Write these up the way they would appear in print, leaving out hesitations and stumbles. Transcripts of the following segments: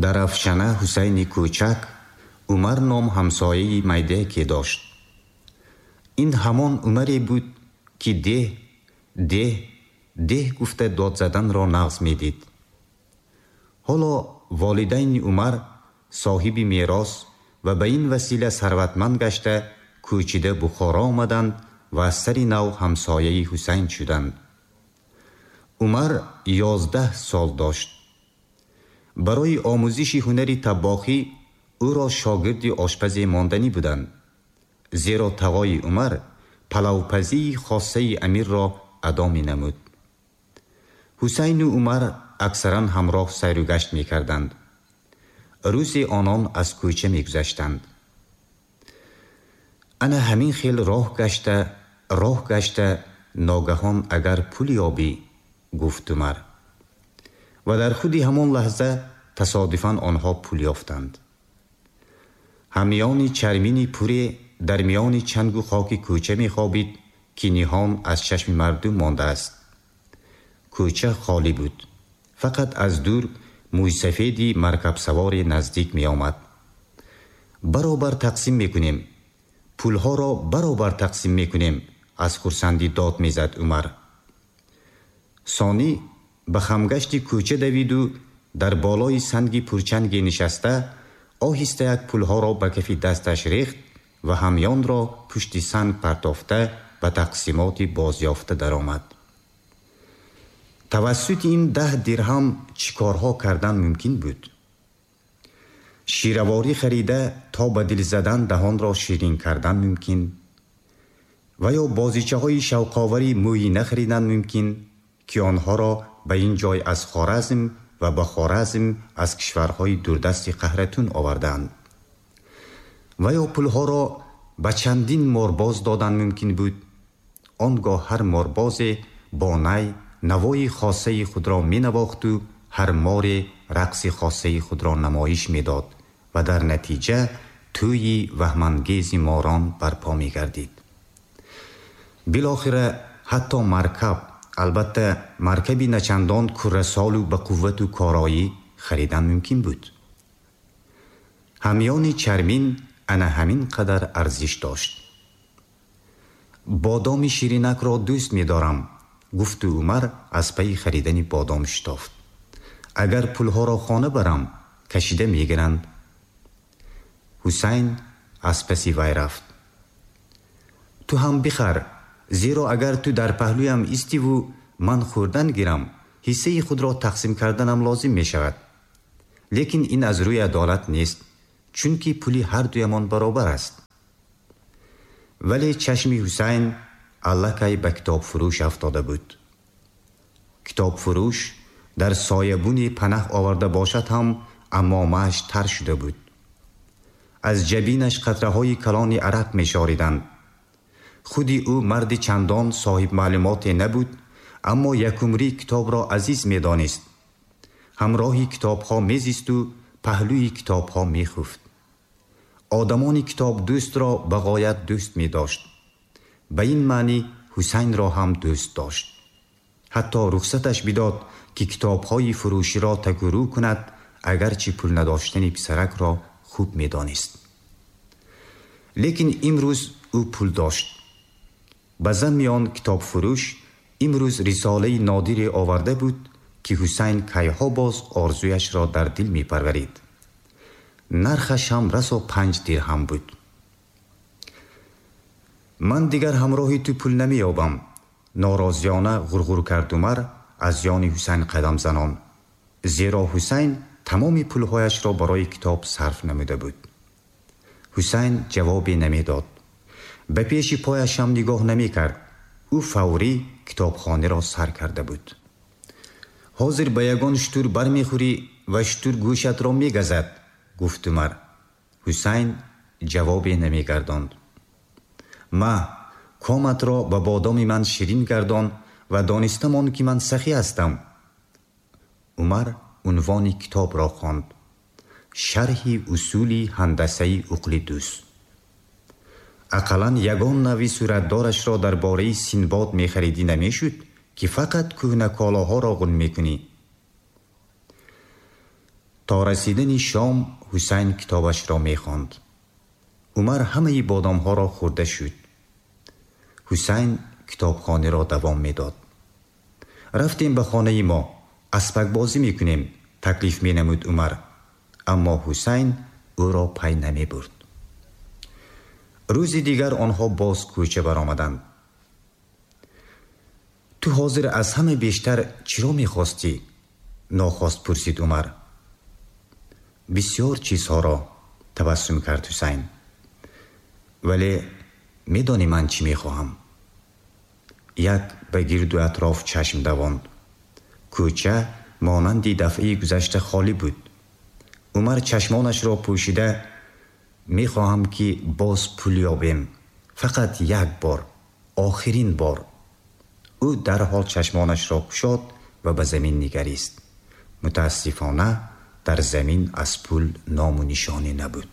Дар Афшана Ҳусайни кӯчак Умар ном ҳамсояи майдаяке дошт. Ин ҳамон Умаре буд, ки деҳ, деҳ, деҳ гуфта дод заданро нағз медид. Ҳоло волидайни Умар соҳиби мерос ва ба ин васила сарватманд гашта, кӯчида Бухоро омаданд ва аз сари нав ҳамсояи Ҳусайн шуданд. Умар 11 сол дошт. Барои омӯзиши ҳунари таббохӣ ӯро шогирди ошпазе монданӣ буданд, зеро тағои Умар палавпазии хоссаи амирро адо менамуд. Ҳусайну Умар аксаран ҳамроҳ сайру гашт мекарданд. Рӯзе онон аз кӯча мегузаштанд. Ана ҳамин хел роҳ гашта, роҳ гашта, ногаҳон агар пул ёбӣ, гуфт Умар. Ва дар худи ҳамон лаҳза тасодуфан онҳо пул ёфтанд. Ҳамёни чармини пуре дар миёни чангу хоки кӯча мехобид, ки ниҳон аз чашми мардум мондааст. Кӯча холӣ буд. Фақат аз дур мӯйсафеди маркабсаворе наздик меомад. Баробар тақсим мекунем. Пулҳоро баробар тақсим мекунем, аз хурсандӣ дод мезад Умар. Сонӣ ба хамгашти кӯча давиду дар болои санги пурчанге нишаста, оҳиста як пулҳоро ба кафи дасташ рехт ва ҳамёнро пушти санг партофта, ба тақсимоти бозёфта даромад. Тавассути ин 10 дирҳам чӣ корҳо кардан мумкин буд? Шираворӣ харида, то ба дил задан даҳонро ширин кардан мумкин, ва ё бозичаҳои шавқовари мӯйина харидан мумкин, ки онҳоро ба ин ҷой аз Хоразм ва ба Хоразм аз кишварҳои дурдасти Қаҳратун овардаанд. Ва ё пулҳоро ба чандин морбоз додан мумкин буд. Он гоҳ ҳар морбозе бо най навои хоссаи худро менавохту ҳар море рақси хоссаи худро намоиш медод ва дар натиҷа тӯйи ваҳмангези морон барпо мегардид. Билохира ҳатто маркаб, албатта маркаби начандон куррасолу ба қуввату короӣ харидан мумкин буд. Ҳамёни чармин ана ҳамин қадар арзиш дошт. Бодоми ширинакро дӯст медорам, гуфту Умар аз пайи харидани бодом шитофт. Агар пулҳоро хона барам, кашида мегиранд. Ҳусайн аз паси вай рафт. Ту ҳам бихар, зеро агар ту дар паҳлӯям истиву ман хӯрдан гирам, ҳиссаи худро тақсим карданам лозим мешавад. Лекин ин аз рӯи адолат нест, чунки пули ҳардуямон баробар аст. Вале чашми Ҳусайн аллакай ба китобфурӯш афтода буд. Китобфурӯш дар соябуне панаҳ оварда бошад ҳам, амомааш тар шуда буд. Аз ҷабинаш қатраҳои калони арақ мешориданд. Худи ӯ марди чандон соҳибмаълумоте набуд, аммо якумрӣ китобро азиз медонист. Ҳамроҳи китобҳо мезисту паҳлӯи китобҳо мехуфт. Одамони китобдӯстро ба ғоят дӯст медошт. Ба ин маънӣ Ҳусайнро ҳам дӯст дошт. Ҳатто рухсаташ бидод, ки китобҳои фурӯширо такурӯ кунад, агарчи пул надоштани писаракро хуб медонист. Лекин имрӯз ӯ пул дошт. Ба замми он китобфурӯш имрӯз рисолаи нодире оварда буд, ки Ҳусайн кайҳо боз орзуяшро дар дил мепарварид. Нархаш ҳам расо 5 дирҳам буд. Ман дигар ҳамроҳи ту пул намеёбам, норозиёна ғурғур кард Умар аз ёни Ҳусайн қадам занон, зеро Ҳусайн тамоми пулҳояшро барои китоб сарф намуда буд. Ҳусайн ҷавобе намедод. Ба пеши пояш ҳам нигоҳ намекард. Ӯ фаврӣ китобхонаро сар карда буд. Ҳозир ба ягон шутур бармехӯрӣ ва шутур гӯшатро мегазад, гуфт Умар. Ҳусайн ҷавобе намегардонд. Ма, коматро ба бодоми ман ширин гардон ва донистамон, ки ман сахӣ ҳастам. Умар унвони китобро хонд: Шарҳи усули ҳандасаи Уқлидус. Ақаллан ягон нави суратдорашро дар бораи Синбод мехаридӣ намешуд, ки фақат кӯҳнаколоҳоро ғун мекунӣ. То расидани шом Ҳусайн китобашро мехонд. Умар ҳамаи бодомҳоро хӯрда шуд. Ҳусайн китобхониро давом медод. Рафтем ба хонаи мо, аспакбозӣ мекунем, таклиф менамуд Умар, аммо Ҳусайн ӯро пай намебурд. Рӯзи дигар онҳо боз кӯча баромаданд. Ту ҳозир аз ҳама бештар чиро мехостӣ? Нохост пурсид Умар. Бисёр чизҳоро, табассум кард Ҳусайн. Вале медонӣ ман чӣ мехоҳам? Як ба гирду атроф чашм давонд. Кӯча монанди дафъаи гузашта холӣ буд. Умар чашмонашро пӯшида: мехоҳам, ки боз пул ёбем, фақат як бор, охирин бор. Ӯ дарҳол чашмонашро кушод ва ба замин нигарист. Мутаассифона, дар замин аз пул ному нишоне набуд.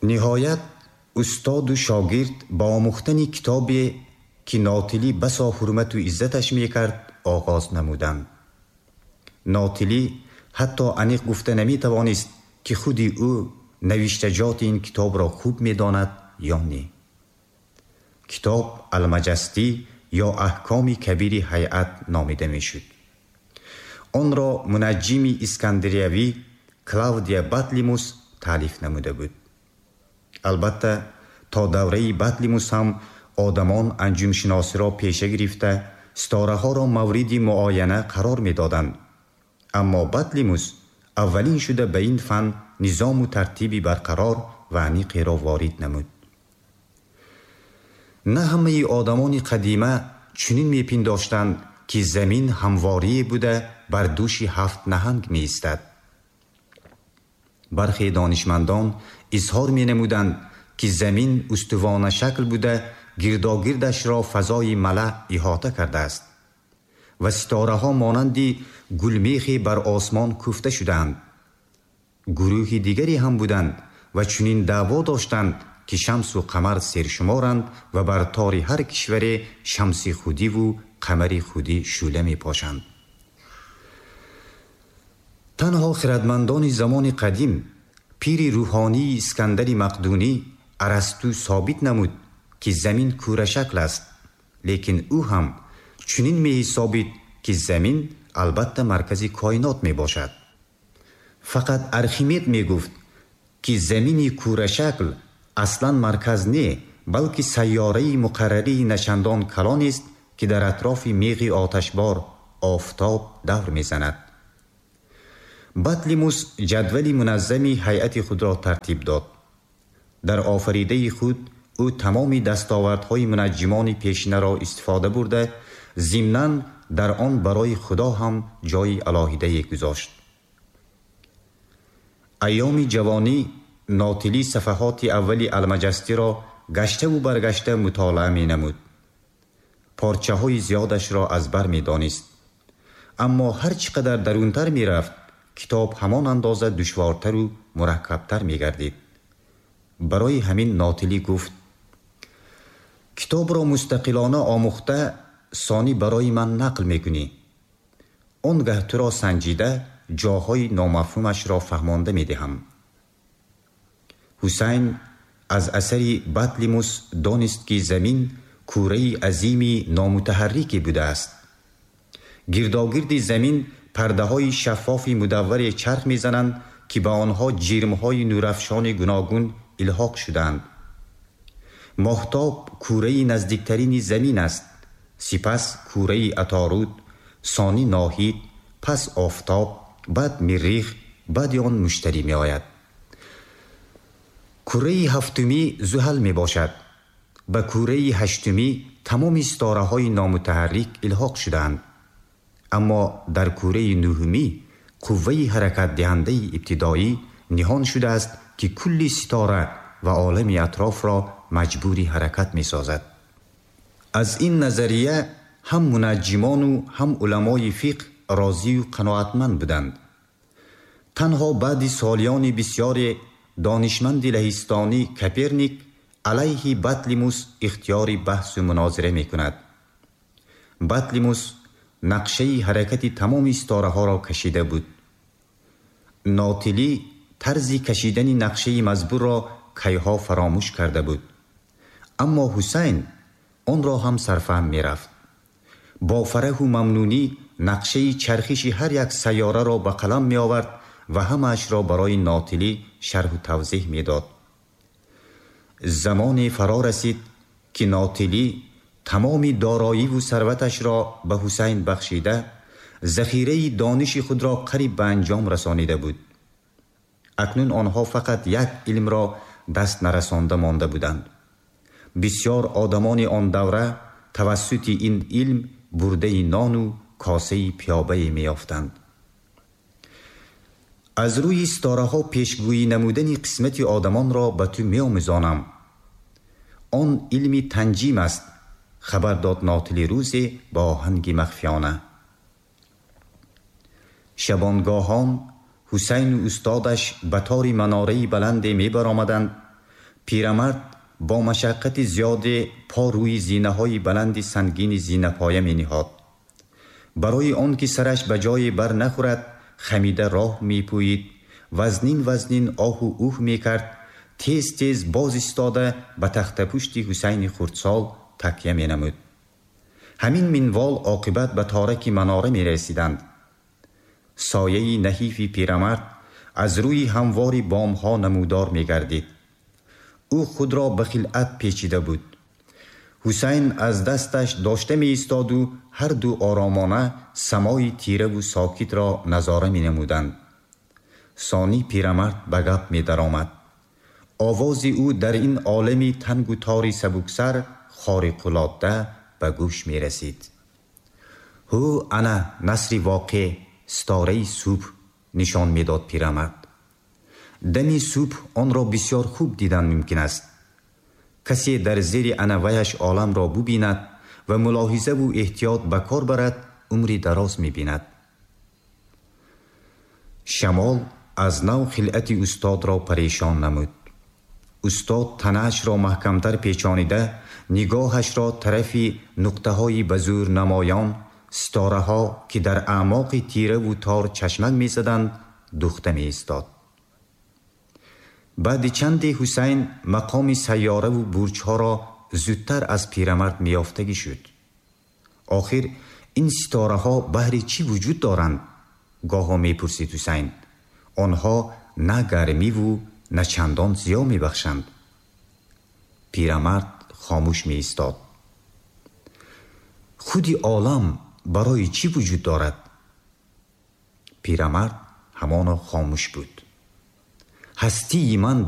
Ниҳоят, устоду шогирд ба омӯхтани китобе, ки Нотилӣ басо ҳурмату иззаташ мекард, оғоз намуданд. Нотилӣ ҳатто аниқ гуфта наметавонист, ки худи ӯ навиштаҷоти ин китобро хуб медонад ё не. Китоб Алмаҷастӣ ё Аҳкоми кабири ҳайат номида мешуд. Онро мунаҷҷими искандариявӣ Клавдия Батлимус таълиф намуда буд. Албатта, то давраи Батлимус ҳам одамон анҷумшиносиро пеша гирифта, ситораҳоро мавриди муояна қарор медоданд. Аммо Батлимус аввалин шуда ба ин фан низому тартиби барқарор ва аниқеро ворид намуд. На ҳамаи одамони қадима чунин мепиндоштанд, ки замин ҳамворие буда бар дӯши ҳафт наҳанг меистад. Бархе донишмандон изҳор менамуданд, ки замин устувонашакл буда гирдогирдашро фазои малаъ иҳота кардааст ва ситораҳо монанди гулмехе бар осмон кӯфта шудаанд. Гурӯҳи дигаре ҳам буданд ва чунин даъво доштанд, ки шамсу қамар сершуморанд ва бар тори ҳар кишваре шамси худиву қамари худӣ шӯъла мепошанд. Танҳо хирадмандони замони қадим, пири рӯҳонии Искандари Мақдунӣ Арасту собит намуд, ки замин кӯрашакл аст, лекин ӯ ҳам чунин меҳисобид, ки замин албатта маркази коинот мебошад. Фақат Архимед мегуфт, ки замини кӯрашакл аслан марказ не, балки сайёраи муқаррарии начандон калонест, ки дар атрофи меғи оташбор офтоб давр мезанад. Батлимус ҷадвали муназзами ҳайати худро тартиб дод. Дар офаридаи худ ӯ тамоми дастовардҳои мунаҷҷимони пешинаро истифода бурда, зимнан дар он барои Худо ҳам ҷои алоҳидае гузошт. Айёми ҷавонӣ Нотилӣ сафаҳоти аввали Алмаҷастиро гаштаву баргашта мутолиа менамуд. Порчаҳои зиёдашро аз бар медонист. Аммо ҳар чӣ қадар дарунтар мерафт, китоб ҳамон андоза душвортару мураккабтар мегардид. Барои ҳамин Нотилӣ гуфт: китобро мустақилона омӯхта, сонӣ барои ман нақл мекунӣ. Он гаҳ туро санҷида, ҷоҳои номафҳумашро фаҳмонда медиҳам. Ҳусайн аз асари Батлимус донист, ки замин кӯраи азими номутаҳаррике будааст. Гирдогирди замин пардаҳои шаффофи мудавваре чарх мезананд, ки ба онҳо ҷирмҳои нурафшони гуногун илҳоқ шудаанд. Моҳтоб кӯраи наздиктарини замин аст, сипас кӯраи Аторуд, сонӣ Ноҳид, пас Офтоб, баъд Миррих, баъди он Муштарӣ меояд. Кӯраи ҳафтумӣ Зуҳал мебошад. Ба кӯраи ҳаштумӣ тамоми ситораҳои номутаҳаррик илҳоқ шудаанд. Аммо дар кӯраи нӯҳумӣ қувваи ҳаракатдиҳандаи ибтидоӣ ниҳон шудааст, ки кулли ситора ва олами атрофро маҷбури ҳаракат месозад. Аз ин назария ҳам мунаҷҷимону ҳам уламои фиқҳ розию қаноатманд буданд. Танҳо баъди солиёни бисёре донишманди лаҳистонӣ Коперник алайҳи Батлимус ихтиёри баҳсу мунозира мекунад. Батлимус нақшаи ҳаракати тамоми ситораҳоро кашида буд. Нотилӣ тарзи кашидани нақшаи мазбурро кайҳо фаромӯш карда буд, аммо Ҳусайн онро ҳам сарфаҳм мерафт. Бо фараҳу мамнунӣ нақшаи чархиши ҳар як сайёраро ба қалам меовард ва ҳамаашро барои Нотилӣ шарҳу тавзеҳ медод. Замоне фаро расид, ки Нотилӣ тамоми дороиву сарваташро ба Ҳусайн бахшида, захираи дониши худро қариб ба анҷом расонида буд. Акнун онҳо фақат як илмро даст нарасонда монда буданд. Бисёр одамони он давра тавассути ин илм бурдаи нону косаи пиёбае меёфтанд. Аз рӯи ситораҳо пешгӯӣ намудани қисмати одамонро ба ту меомӯзонам. Он илми танҷим аст, хабар дод Нотили рӯзе бо оҳанги махфиёна. Шабонгоҳон Ҳусайну устодаш ба тори манораи баланде мебаромаданд. Пирамард бо машаққати зиёде по рӯи зинаҳои баланди сангини зинапоя мениҳод. Барои он ки сараш ба ҷое бар нахӯрад, хамида роҳ мепӯид, вазнин вазнин оҳу уҳ мекард, тез тез боз истода ба тахтапушти Ҳусайни хурдсол такя менамуд. Ҳамин минвол оқибат ба тораки манора мерасиданд. Сояи наҳифи пирамард аз рӯи ҳамвори бомҳо намудор мегардид. Ӯ худро ба хилъат печида буд. Ҳусайн аз дасташ дошта меистоду ҳарду оромона самои тираву сокитро назора менамуданд. Сонӣ пирамард ба гап медаромад. Овози ӯ дар ин олами тангу тори сабуксар хориқулодда ба гӯш мерасид. Ҳу, ана насри воқеъ, ситораи субҳ, нишон медод пирамард. Дами субҳ онро бисёр хуб дидан мумкин аст. Касе дар зери анаваяш оламро бубинад ва мулоҳизаву эҳтиёт ба кор барад, умри дароз мебинад. Шамол аз нав хилъати устодро парешон намуд. Устод танаашро маҳкамтар печонида, нигоҳашро тарафи нуқтаҳои ба зӯр намоён, ситораҳо, ки дар аъмоқи тираву тор чашмак мезаданд, духта меистод. Баъди чанде Ҳусайн мақоми сайёраву бурҷҳоро зудтар аз пирамард меёфтагӣ шуд. Охир ин ситораҳо баҳри чӣ вуҷуд доранд? Гоҳо мепурсид Ҳусайн. Онҳо на гармиву на чандон зиё мебахшанд. Пирамард хомӯш меистод. Худи олам барои чӣ вуҷуд дорад? Пирамард ҳамоно хомӯш буд. Ҳастии ман